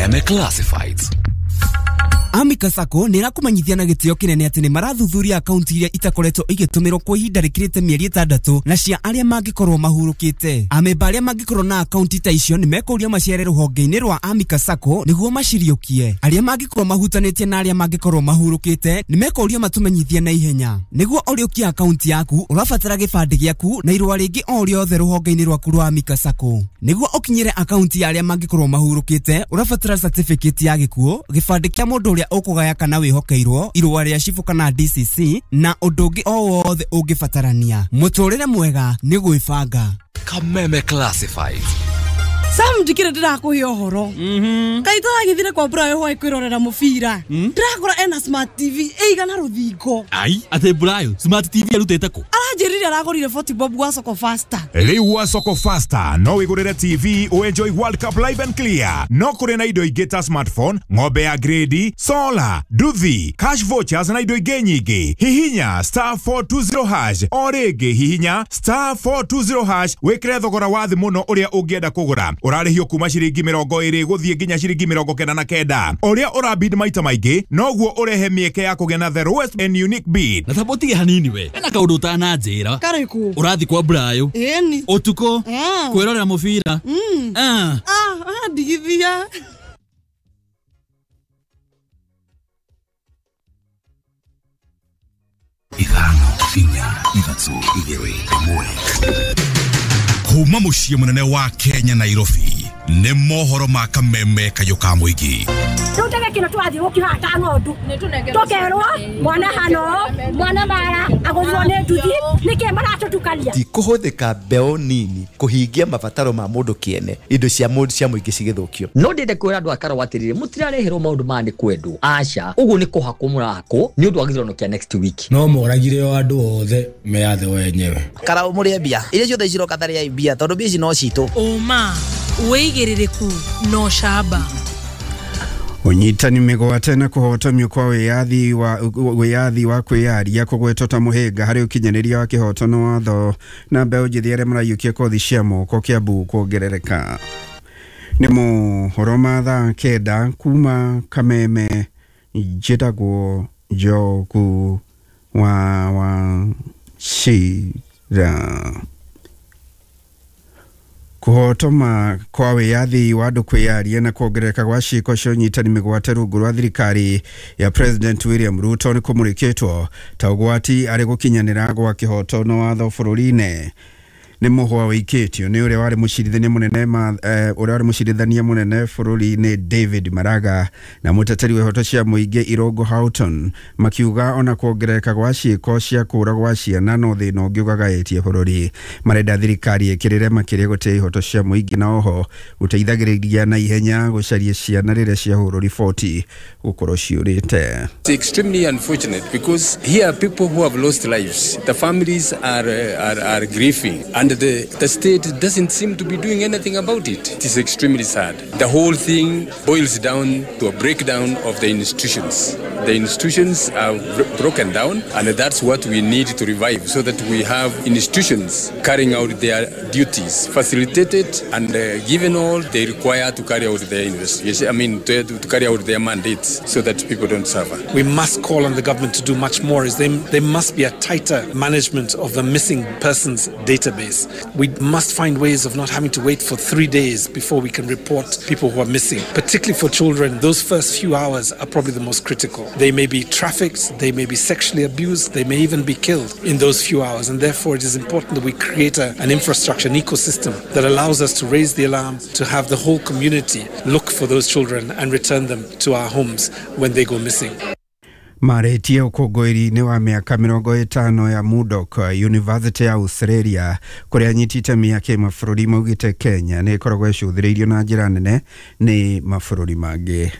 Kameme Classifieds. Amika Sacco nä ĩrakũmenyithia na gĩtĩo kĩnene atĩ nĩ marathuthuria akaunti iria itakoretwo igĩtũmĩrwo kwa ihinda rĩkĩrĩte mĩeri 6 na cia arĩa mangĩkorwo mahurũkĩte. Amemba arĩa mangĩkorwo na akaunti ta icio nĩ mekũrio macere rũhonge-inĩ rwa Amika Sacco nĩguo maciriũkie. Arĩa mangĩkorwo mahutanĩtie na arĩa mangĩkorwo mahurũkĩte nĩ mekũrio matũmenyithie na ihenya. Nĩguo ũrĩũkie akaunti yaku ũrabatara gĩbandĩ gĩaku na irũa rĩngĩ o rĩothe rũhonge-inĩ rwaku rwa Amika Sacco. Nĩguo ũkinyĩre akaunti ya arĩa mangĩkorwo mahurũkĩte ũrabatara certificate ya gĩkuũ, gĩbandĩ kĩa mũndũ ũrĩa ũkũgaya kana wĩhokeirwo, irũa rĩa cibũ kana DCC na ũndũ ũngĩ o wothe ũngĩbatarania. Mũtũrĩre mwega nĩ gwĩbanga. Kameme Classifieds. Sam ndikire ndirakuhe ũhoro. Kaĩ tũragĩthire kwa Brayo hwaĩ kwĩrorera mũbira. Ndĩrakora ena smart TV ĩigana rũthingo. Ai, atĩ Brayo smart TV arutĩte kũ? Aranjĩrire aragũrire 40 bob gwa Soko Faster. Rĩu gwa Soko Faster no wĩgũrĩre TV ũenjoy World Cup live and clear. No kũrĩ na indo ingĩ ta smartphone, ng'ombe ya grade, solar, nduthi, cash vouchers na indo ingĩ nyingĩ. Hihinya *420# o rĩngĩ hihinya *420# wĩkĩre thogora wa thĩ mũno ũrĩa ũngĩenda kũgũra. Ũrarĩhio kuma ciringi 20 gũthiĩ nginya ciringi 99. Ũrĩa ũrabid maita maingĩ noguo ũrehe mĩeke ya kũgĩa na the lowest and unique bid. Na tabo tige hanini we. Ena kaũndũ ũtananjĩra. Karĩkũ? Ũrathi kwa Brayo. Ĩni. Ũtukũ. Kwĩrorera mũbira. Ndigithia. 5 4 3 2 1. Kuma muciĩ mũnene wa Kenya Nairobi nĩ mohoro ma Kameme kayũ ka mũingĩ. Rĩu ndege kĩno tũrathiĩ gũkihaha ta ng'ondu tũkerwo mwana hano mwana mara agũthirwo nĩ nduthi nĩkĩ maratũtukania. Ti kũhũthĩka mbeũ nini kũhingia mabataro ma mũndũ kĩene, indo cia mũndũ cia mũingĩ cigĩthũkio. No ndĩende kwĩra andũ a Karau atĩrĩrĩ, mũtirareherwo maũndũ maya nĩ kwendwo, aca, ũguo nĩ kũhakwo mũrahakwo nĩ ũndũ wa gĩthurano kĩa next week. No moragire o andũ othe meyathe wenyewe. Karau mũrĩe mbia iria ciothe ciroka tarĩai mbia tondũ mbia ici no citũ. Ũma wĩigĩrĩrĩku na ũcamba. Ũnyitani mĩgwate na kũhotomio kwa wĩyathi wa kwĩyaria kũgwetwo ta mũhĩnga harĩ ũkinyanĩria wa kĩhoto na watho na mbeũ njĩthĩ arĩa maraiyũkia kothi cia moko Kiambu kuongerereka. Nĩ mohoro ma thaa 9 kuma Kameme, njĩtagwo Njogu wa Wachira. Kũhotoma kwa wĩyathi wa andũ kwĩyaria na kuongerereka gwa ciĩko cia ũnyitani mĩgwate rungu rwa thirikari ya President William Ruto nĩ kũmũrĩkĩtwo ta ũgwati arĩ gũkinyanĩra gwa kĩhoto na watho bũrũri-inĩ. Nĩ mũhwa wĩikĩtio nĩ ũrĩa warĩ mũcirithania mũnene bũrũri-inĩ David Maraga na mũteteri wa ihoto cia mũingĩ Irungu Houghton makiuga ona kuongerereka gwa ciĩko cia kũũra gwa ciana no thĩna ũngĩ ũgagaĩtie bũrũri. Marenda thirikari ĩkĩrĩre makĩria gũtĩa ihoto cia mũingĩ na oho gũteithagĩrĩria na ihenya gũcaria ciana rĩrĩa ciahũrwo riboti gũkorwo ciũrĩte. It's extremely unfortunate because here are people who have lost lives. The families are grieving and the state doesn't seem to be doing anything about it. It is extremely sad. The whole thing boils down to a breakdown of the institutions. The institutions are broken down, and that's what we need to revive so that we have institutions carrying out their duties, facilitated and given all they require to carry out their investigation, to carry out their mandates so that people don't suffer. We must call on the government to do much more. There must be a tighter management of the missing persons database. We must find ways of not having to wait for 3 days before we can report people who are missing. Particularly for children, those first few hours are probably the most critical. They may be trafficked, they may be sexually abused, they may even be killed in those few hours. And therefore it is important that we create an infrastructure, an ecosystem that allows us to raise the alarm, to have the whole community look for those children and return them to our homes when they go missing. Marĩtie ũkũngũĩri-inĩ wa mĩaka 50 ya Murdoch University ya Australia kũrĩa anyiti itemi a kĩmabũrũri maugĩte Kenya nĩ ĩkoragwo ĩcũthĩrĩirio na njĩra nene nĩ mabũrũri mangĩ.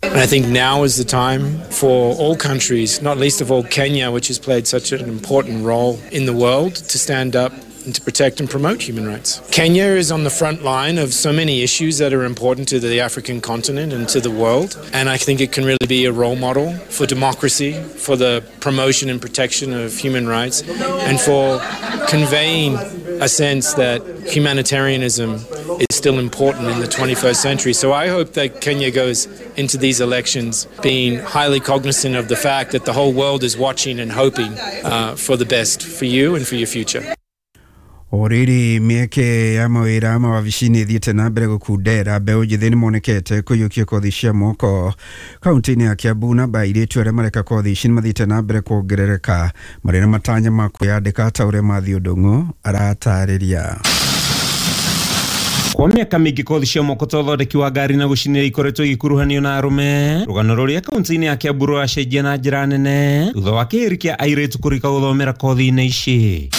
And I think now is the time for all countries, not least of all Kenya, which has played such an important role in the world, to stand up and to protect and promote human rights. Kenya is on the front line of so many issues that are important to the African continent and to the world, and I think it can really be a role model for democracy, for the promotion and protection of human rights, and for conveying a sense that humanitarianism is still important in the 21st century. So I hope that Kenya goes into these elections being highly cognizant of the fact that the whole world is watching and hoping for the best for you and for your future. O rĩrĩ mĩeke ya mawĩra mawabici-inĩ ĩthiĩte na mbere gũkundera mbeũ njĩthĩ nĩmonekete kũiyũkia kothi cia moko kaunti-inĩ ya Kiambu. Namba airĩtu arĩa mareka kothi ici nĩmathiĩte na mbere kuongerereka marĩ na matanya ma kwĩyandĩka ta ũrĩa Matthew Ndung'u aratarĩria. Kwa mĩaka mĩingĩ kothi cia moko ta ũthondeki wa ngari na gũcinĩra ikoretwo igĩkuruhanio na arũme. Rũgano rũrĩa kaunti-inĩ ya Kiambu rũracenjia na njĩra nene thutha wa kĩhĩri kĩa airĩtu kũrika gũthomera kothi-inĩ ici.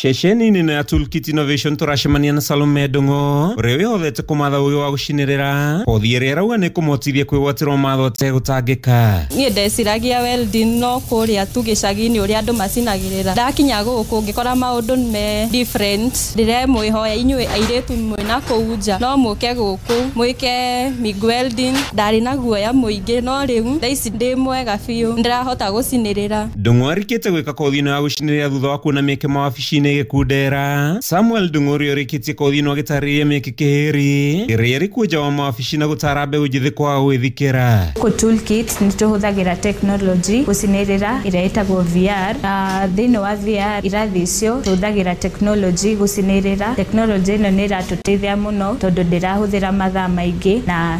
Ceceni-inĩ ĩno ya Toolkit Innovation tũracemania na Salome Ndung'u ũrĩa wĩhothete kũmatha ũgĩ wa gũcinĩrĩra kothi ĩrĩa ĩrauga nĩ kũmũhotithia kwĩgwatĩrwo matho ategũtangĩka. Niĩ ndeciragia welding no kũrĩa tu gĩcagi-inĩ ũrĩa andũ macinagĩrĩra. Ndakinya gũkũ ngĩkora maũndũ me different. Ndĩremwĩhoya inyuĩ airĩtu mwĩna kũu nja no mũke gũkũ mwĩke MIG welding. Ndarĩ na guoya mũingĩ no rĩu thaa ici ndĩ mwega biũ, ndĩrahota gũcinĩrĩra. Ndung'u arĩkĩte gwĩka kothi ĩno ya gũcinĩrĩra thutha wa kuona mĩeke mawabici-inĩ gĩkundera. Samuel Ndung'u ũrĩa ũrĩkĩtie kothi ĩno agĩtarĩria mĩeke kĩhĩri ĩrĩa ĩrĩ kuo nja wa mawabici na gũtara mbeũ njĩthĩ kwaga gwĩthikĩra. Gũkũ Toolkit nĩ tũhũthagĩra technology gũcinĩrĩra ĩrĩa ĩtagwo VR, na thĩinĩ wa VR irathi icio tũhũthagĩra technology gũcinĩrĩra. Technology ĩno nĩ ĩratũteithia mũno tondũ ndĩrahũthĩra mathaa maingĩ na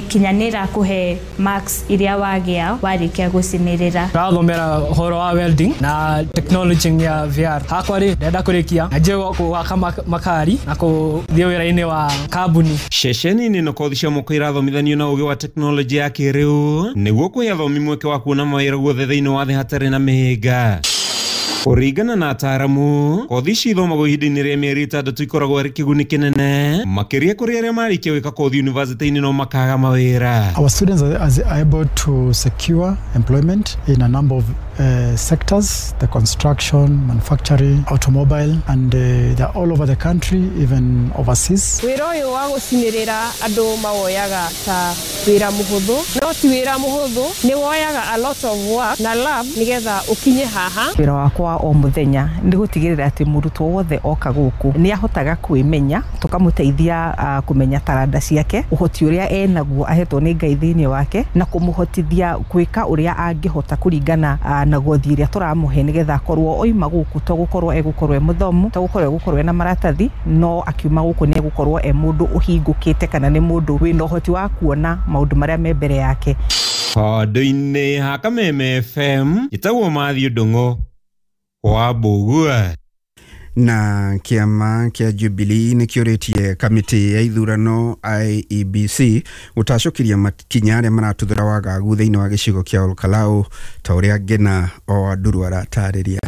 kinya nĩ ĩrakũhe marks iria wagĩa warĩkia gũcinĩrĩra. Tũrathomera ũhoro wa welding na technology ya VR. Hakwa rĩ ndĩrenda kũrĩkia na njie gwaka makari na kũthiĩ wĩra-inĩ wa kambuni. Ceceni-inĩ ĩno kothi cia moko irathomithanio na ũgĩ wa tekinoronjĩ ya kĩrĩu nĩguo kũhe athomi mweke wa kuona mawĩra guothe thĩinĩ wa thĩ hatarĩ na mĩhĩnga. Kũringana na ataaramu, kothi ici ithomagwo ihinda-inĩ rĩa mĩeri 6 ikoragwo arĩ kĩguni kĩnene makĩria kũrĩ arĩa marĩkia gwĩka kothi university-inĩ no makaga mawĩra. Our students are able to secure employment in a number of sectors, the construction, manufacturing, automobile, and they're all over the country, even overseas. Wĩra ũyũ wa gũcinĩrĩra andũ mawoyaga ta wĩra mũhũthũ, no ti wĩra mũhũthũ, nĩ woyaga a lot of work na love nĩgetha ũkinye haha. Wĩra wakwa o mũthenya nĩ gũtigĩrĩra atĩ mũrutwo wothe oka gũkũ nĩ ahotaga kwĩmenya, tũkamũteithia kũmenya taranda ciake, ũhoti ũrĩa enaguo ahetwo nĩ Ngai thĩinĩ wake, na kũmũhotithia gwĩka ũrĩa angĩhota kũringana na gothi ĩrĩa tũramũhe nĩgetha akorwo oima gũkũ to gũkorwo egũkorwo e mũthomu, to gũkorwo egũkorwo ena maratathi, no akiuma gũkũ nĩ egũkorwo e mũndũ ũhingũkĩte kana nĩ mũndũ wĩna ũhoti wa kuona maũndũ marĩa me mbere yake. Handũ-inĩ ha Kameme FM ĩtagwo Matthew Ndung'u wa Mbũgua. Na kĩama kĩa Jubilee nĩ kĩũrĩtie kamĩtĩ ya ithurano IEBC gũtacũkĩria makinya arĩa maratuthũra wagagu thĩinĩ wa gĩcigo kĩa Olkalau ta ũrĩa Ngĩna o Nduru aratarĩria.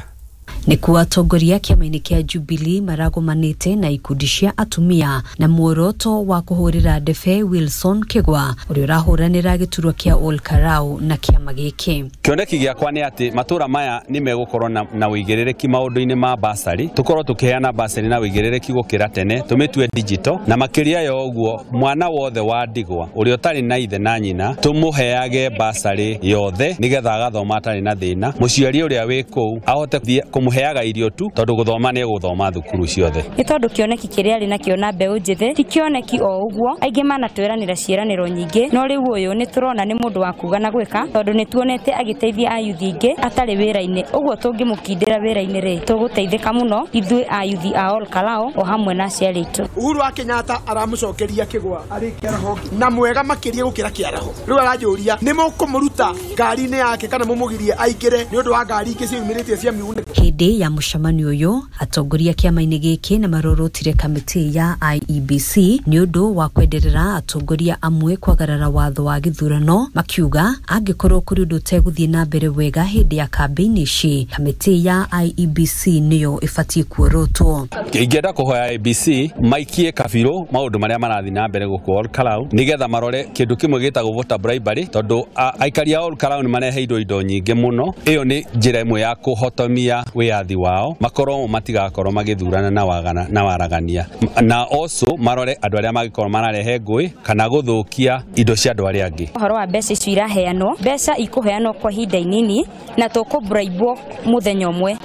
Nĩkuo atongoria kĩama-inĩ kĩa Jubilee maragomanĩte na ikundi cia atumia na muoroto wa kũhũrĩra ndebe Wilson Kĩgwa ũrĩa ũrahũranĩra gĩturwa kĩa Olkalau na kĩama gĩkĩ. Kĩoneki gĩakwa nĩ atĩ matũra maya nĩ megũkorwo na ũigĩrĩrĩki maũndũ-inĩ ma basarĩ, tũkorwo tũkĩheana basarĩ na ũigĩrĩrĩki gũkĩra tene, tũmĩtue digital, na makĩria ya ũguo mwana wothe wa ndigwa ũrĩa ũtarĩ na ithe na nyina tũmũheage basarĩ yothe nĩgetha agathoma atarĩ na thĩna, mũciari ũrĩa wĩ kũu ahote kũmũheaga irio tu tondũ gũthoma nĩ gũthoma thukuru ciothe. Nĩ tondũ kĩoneki kĩrĩa arĩ nakĩo na mbeũ njĩthĩ ti kĩoneki o ũguo, aingĩ manatwĩranĩra ciĩranĩro nyingĩ, no rĩu ũyũ nĩ tũrona nĩ mũndũ wa kuga na gwĩka tondũ nĩ tuonete agĩteithia ayuthi aingĩ atarĩ wĩra-inĩ, ũguo tũngĩmũkindĩra wĩra-inĩ rĩ tũgũteithĩka mũno ithuĩ ayuthi a Olkalau o hamwe na aciari aitũ. Uhuru wa Kenyatta aramũcokeria Kĩgwa arĩ kĩaraho na mwega makĩria gũkĩra kĩaraho. Rĩu aranjũria nĩ mũkũmũruta ngari-inĩ yake kana mũmũgirie aingĩre nĩ ũndũ wa ngari ingĩ ciumĩrĩtie cia mĩgunĩko. Hĩndĩ ya mũcemanio ũyũ atongoria kĩama-inĩ gĩkĩ nĩ marorotire kamĩtĩ ya IEBC nĩ ũndũ wa kwenderera atongoria amwe kwagarara watho wa gĩthurano, makiuga angĩkorwo kũrĩ ũndũ ũtegũthiĩ na mbere wega hĩndĩ ya kambĩini ici, kamĩtĩ ya IEBC nĩyo ĩbatiĩ kuorotwo. Ingĩenda kũhoya IEBC maikie kabirũ maũndũ marĩa marathiĩ na mbere gũkũ Olkalau nĩgetha marore kĩndũ kĩmwe gĩtagwo voter bribery tondũ aikari a Olkalau nĩ mareheirwo indo nyingĩ mũno. Ĩyo nĩ njĩra ĩmwe ya kũhotomia wĩyathi wĩyathi wao, makorwo matigakorwo magĩthurana na wagana na waragania, na also marore andũ arĩa mangĩkorwo mararehe ngũĩ kana gũthũkia indo cia andũ arĩa angĩ. Ũhoro wa mbeca icio iraheanwo, mbeca ikũheanwo kwa ihinda inini na tũkũbraibwo mũthenya ũmwe.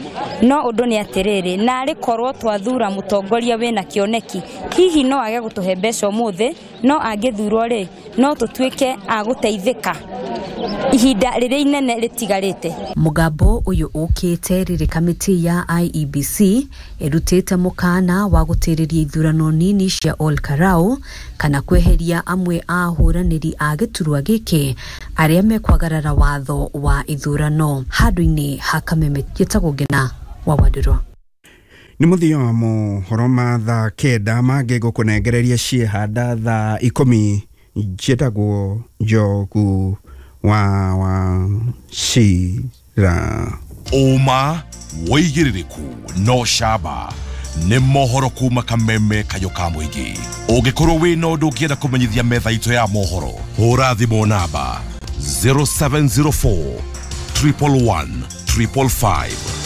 No ũndũ nĩ atĩrĩrĩ, narĩ korwo twathura mũtongoria wĩna kĩoneki, hihi no age gũtũhe mbeca ũmũthĩ, no angĩthurwo rĩ, no tũtuĩke a gũteithĩka ihinda rĩrĩa inene rĩtigarĩte. Mũgambo ũyũ ũkĩte rĩrĩ kamĩtĩ ya IEBC ĩrutĩte mũkana wa gũtĩrĩria ithurano nini cia Ol Kalou kana kweheria amwe a ahũranĩri a gĩturwa gĩkĩ arĩa mekwagarara watho wa ithurano. Handũ-inĩ ha Kameme, njĩtagwo Ngĩna wa Wandirũ. Nĩ mũthia wa mohoro ma thaa 9 mangĩ ngũkũnengereria ciehanda thaa 10. Njĩtagwo Njogu wa Wachira. Ũma wĩigĩrĩrĩku no camba nĩ mohoro kuma Kameme kayũ ka mũingĩ. Ũngĩkorwo wĩna ũndũ ũngĩenda kũmenyithia metha itũ ya mohoro, hũra thimũ namba 0704 111 555.